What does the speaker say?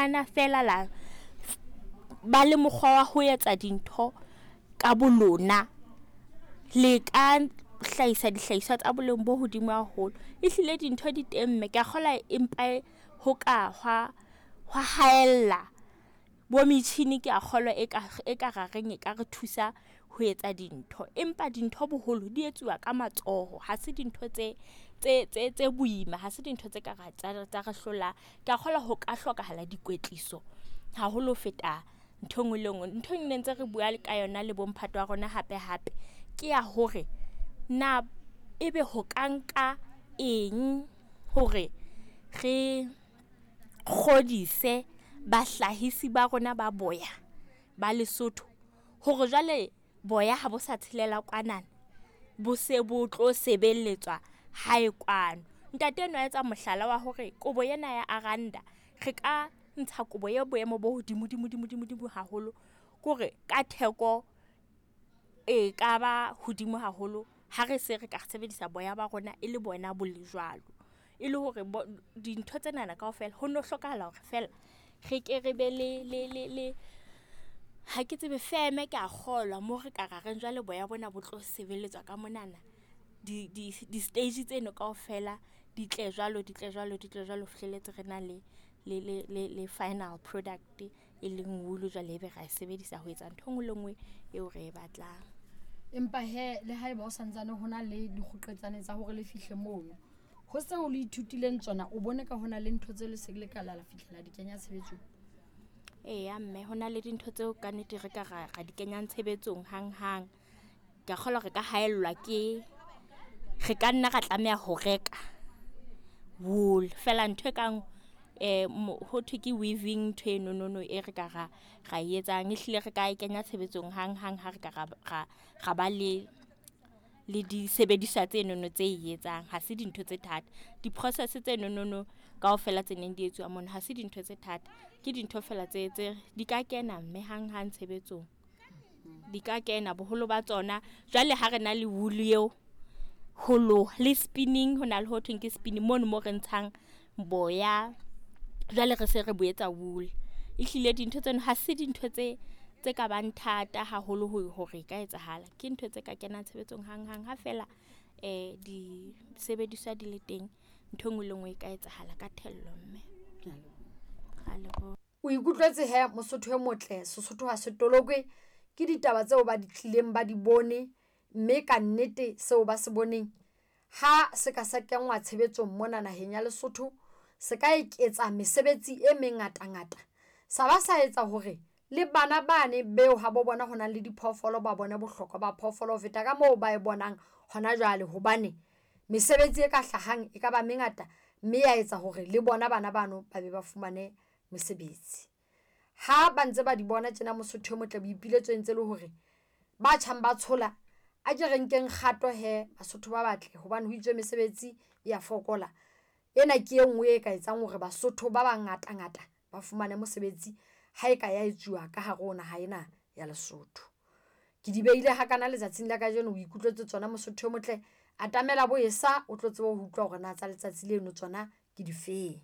Fumana fela la ba le mokgwa wa ho etsa dintho ka bo lona, le ka hlahisa dihlahiswa tsa boleng bo hodimo haholo. Ehlile dintho di teng mme kea kgolwa empa ho ka hwa hwa haella bo metjhini kea kgolwa e ka e ka ra reng e ka re thusa ho etsa dintho. Empa dintho boholo di etsuwa ka matsoho, ha se dintho tse tse tse tse boima, ha se dintho tse ka ra tsa re hlolang. Kea kgolwa ho ka hlokahala dikwetliso haholo ho feta ntho e nngwe le nngwe. Ntho e ne ntse re bua ka yona le bo mphato wa rona hape hape ke ya hore na ebe ho ka nka eng hore re kgodise bahlahisi ba rona ba boya ba Lesotho hore jwale boya ha bo sa tshelela kwana, bo se bo tlo sebeletswa hae kwano. Ntate enwa a etsa mohlala wa hore kobo ena ya Aranda re ka ntsha kobo e boemo bo hodimo dimo dimo dimo dimo haholo. Ke hore ka theko e kaba hodimo haholo ha re se re ka sebedisa boya ba rona e le bona bo le jwalo. E le hore dintho tsena kaofela ho no hlokahala hore fela re ke re be le le le le ha ke tsebe feme kea kgolwa mo re ka ra reng jwale boya bona bo tlo sebeletswa ka monana. Di di di-stage tseno kaofela di tle jwalo, di tle jwalo, di tle jwalo ho fihlelletse re na le le le le le final product e leng wool jwale ebe ra e sebedisa ho etsa ntho e nngwe le nngwe eo re e batlang. Empa hee le haeba o santsane ho na le dikgoqetsane tsa hore le fihle mono, ho seo le ithutileng tsona o bone ka hona le ntho tse le se le ka la la fihlela di kenya tshebetsong? Eya mme hona le dintho tseo ka nnete re ka ra ra di kenyang tshebetsong hang hang. Kea kgolwa re ka haellwa ke re ka nna ra tlameha ho reka wool. Fela ntho e kang ho thwe ke weaving ntho eno nono e re ka ra ra etsang. Ehlile re ka e kenya tshebetsong hang hang ha re ka ra ra ra ba le le disebediswa tsenono tse e etsang. Ha se dintho tse thata. Di-process tse nonono kaofela tse neng di etsuwa mono ha se dintho tse thata. Ke dintho fela tse tse di ka kena mme hang hang tshebetsong. Di ka kena boholo ba tsona. Jwale ha re na le wool eo ho loha le spinning hona le ho thweng ke spinning mono mo re ntshang boya. Jwale re se re bo etsa wool. Ehlile dintho tseno ha se dintho tse tse ka bang thata haholo ho hore e ka etsahala. Ke ntho tse ka kenang tshebetsong hang hang ha fela disebediswa di le teng. Ntho e nngwe le e nngwe e ka etsahala ka thello mme. Ke a leboha. Ra leboha. O ikutlwetse he Mosotho e motle, Sesotho ha se tolokwe. Ke ditaba tseo ba di tlileng ba di bone, mme ka nnete seo ba se boneng ha se ka sa kenngwa tshebetsong mona naheng ya Lesotho, se ka eketsa mesebetsi e mengatangata. Sa ba sa etsa hore le bana bane beo habo bona ho nang le diphoofolo ba bone bohlokwa ba phoofolo ho feta ka moo ba e bonang hona jwale. Hobane mesebetsi e ka hlahang e ka ba mengata, mme ya etsa hore le bona bana bano ba be ba fumane mesebetsi. Ha ba ntse ba di bona tjena Mosotho e motle boipiletso e ntse le hore ba tjhang ba tshola, a ke re nkeng kgato hee Basotho ba batle hobane ho itswe mesebetsi ya fokola. Ena ke e ngwe e ka etsang hore Basotho ba bangata ngata ba fumane mosebetsi ha e ka ya etsuwa ka hare ho naha ena ya Lesotho. Ke di behile hakana letsatsing la kajeno, o ikutlwetse tsona Mosotho e motle. Atamela bo esa o tlo tsebe ho utlwa hore na tsa letsatsi leno tsona ke difeng.